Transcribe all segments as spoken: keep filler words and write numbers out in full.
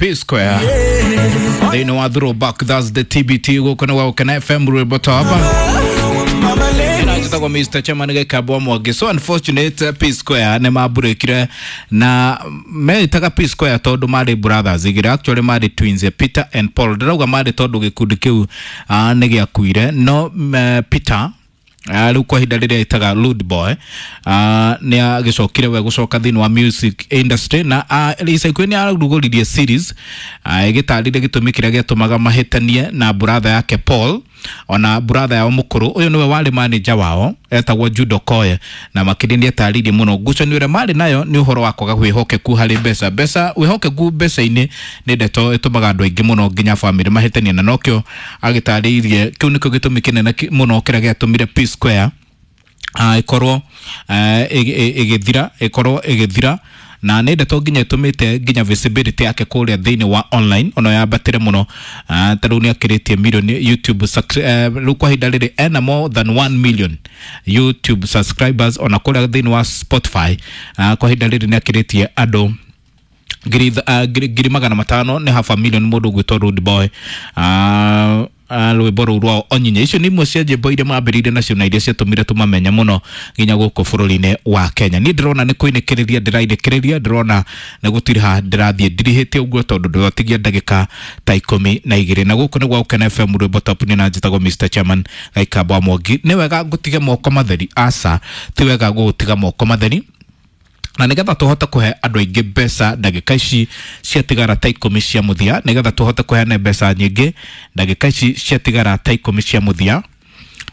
P Square thĩinĩ wa Throwback Thursday T B T gũkũ nĩ gwa Gũkena F M rwĩmbo top njĩtagwo Mister Chairman Gĩkambwa Mwangi. So unfortunate P Square nĩ mambũrĩkire na meĩtaga P Square tondũ marĩ brothers igĩrĩ, actually marĩ twins, Peter and Paul. Ndĩrauga marĩ tondũ gĩkundi kĩu uh, nĩ gĩakuire, no uh, Peter rĩu kwa ihinda rĩrĩa ĩtaga Rude Boy uh, nĩ agĩcokire we gũcoka thĩinĩ wa music industry na uh, ica ikuhĩ nĩ ararugũririe series uh, ĩgĩtarĩria gĩtũmi kĩrĩa gĩatũmaga mahĩtanie na brother yake Paul, ona brother yao mũkũrũ ũyũ nĩwe warĩ manager wao etagwo Jude Okoye, na makĩria nĩ atarĩirie mũno ngucanio ĩrĩa marĩ nayo nĩ ũhoro wa kwaga wĩhokeku harĩ mbeca. Mbeca, wĩhokeku mbeca-inĩ nĩ ndeto ĩtũmaga andũ aingĩ mũno nginya bamĩrĩ mahĩtanie, na nokĩo agĩtarĩirie kĩu nĩkĩo gĩtũmi kĩnene mũno kĩrĩa gĩatũmire P Square uh, ĩkorwo ĩgĩthira uh, ĩkorwo ĩgĩthira, na nĩ ndeto nginya ĩtũmĩte nginya visibility yake kũrĩa thĩinĩ wa online ona yambatĩre mũno. uh, ta rĩu nĩ akĩrĩtie milioni YouTube rĩu uh, kwa ihinda rĩrĩ ena more than one million YouTube subscribers, ona kũrĩa thĩinĩ wa Spotify uh, kwa ihinda rĩrĩ nĩ akĩrĩtie andũ ngiri uh, ngiri magana matano, nĩ half a million mũndũ ũgwĩtwo Rude Boy. uh, rwĩmbo rũu rwao Onyinye. Icio nĩ imwe cia nyĩmbo iria mambĩrĩirie nacio na iria ciatũmire tũmamenye mũno nginya gũkũ bũrũri-inĩ wa Kenya. Niĩ ndĩrona nĩ kũinĩkĩrĩria ndĩrainĩkĩrĩria, ndĩrona nĩ gũtiriha ndĩrathiĩ ndirihĩte ũguo tondũ ndĩratigia ndagĩka ta ikũmi na igĩrĩ. Na gũkũ nĩ gwa Gũkena F M rwĩmbo top nĩ na njĩtagwo Mister Chairman Gĩkambwa Mwangi. Nĩ wega ngũtige moko matheri? Aca, ti wega gũgũtiga moko matheri, na nigetha tuhote kuhe andũ aingĩ mbeca ndagĩka ici ciatigara ta ikũmi cia mũthia, nigetha tuhote kũheana mbeca nyingĩ ndagĩka ici ciatigara ta ikũmi cia mũthia,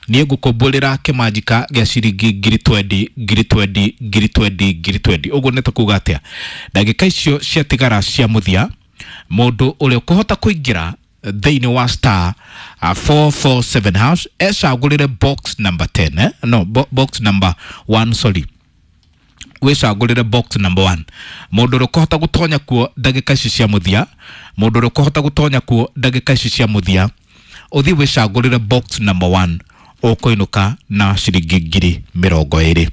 niĩ ngũkũmbũrĩra kĩmanjika gĩa ciringi ngiri twendi ngiri twendi ngiri twendi ngiri twendi. Ũguo nĩ ta kuga atĩa? Ndagĩka icio ciatigara cia mũthia, mũndũ ũrĩa ũkũhota kũingĩra thĩinĩ wa star uh, four four seven hash ecagũrĩre box number ten, eh? No, bo box number one, sorry, wicagũrĩre box number one. Mũndũ ũrĩa ũkũhota gũtonya kuo ndagĩka ici cia mũthia, mũndũ ũrĩa ũkũhota gũtonya kuo ndagĩka ici cia mũthia, ũthiĩ wĩcagũrĩre box number one, ũkũinũka na ciringi ngiri mĩrongo ĩrĩ,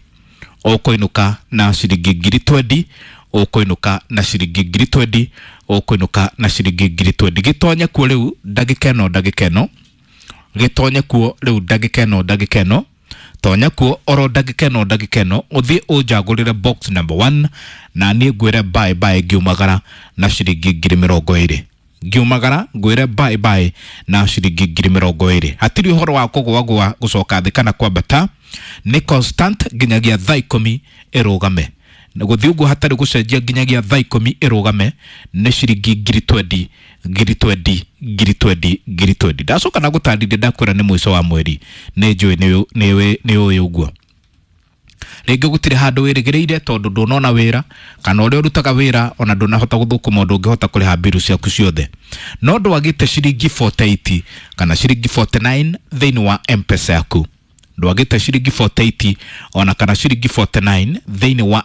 ũkũinũka na ciringi ngiri twendi, ũkũinũka na ciringi ngiri twendi, ũkũinũka na ciringi ngiri twendi. Gĩtonye kuo rĩu ndagĩka ĩno, ndagĩka ĩno, gĩtonye kuo rĩu ndagĩka ĩno, ndagĩka ĩno, tonya kuo oro ndagĩka ĩno, ndagĩka ĩno, ũthiĩ ũnjagũrĩre box number one, na niĩ ngwĩre bye bye ngiumagara na ciringi ngiri mĩrongo ĩrĩ. Ngiumagara ngwĩre bye bye na ciringi ngiri mĩrongo ĩrĩ. Hatirĩ ũhoro wa kũgũagũa gũcoka thĩ kana kwambata, nĩ constant nginyagia thaa ikũmi ĩrũgame. Gũthiĩ ũguo hatarĩ gũcenjia nginyagia thaa ikũmi ĩrũgame nĩ ciringi ngiri twendi ngiri twendi ngiri twendi ngiri twendi. Ndacoka na gũtarĩria ndakwĩra nĩ mũico wa mweri, nĩ njũĩ nĩ ũĩ ũguo. Rĩngĩ gũtirĩ handũ wĩrĩgĩrĩire tondũ ndũnona wĩra, kana ũrĩa ũrutaga wĩra ona ndũnahota gũthũkũma ũndũ ũngĩhota kũrĩha mbiru ciaku ciothe, no ndwagĩte ciringi forty eight kana ciringi forty nine thĩinĩ wa M-Pesa yaku. Ndwagĩte ciringi forty eight ona kana ciringi forty nine thĩinĩ wa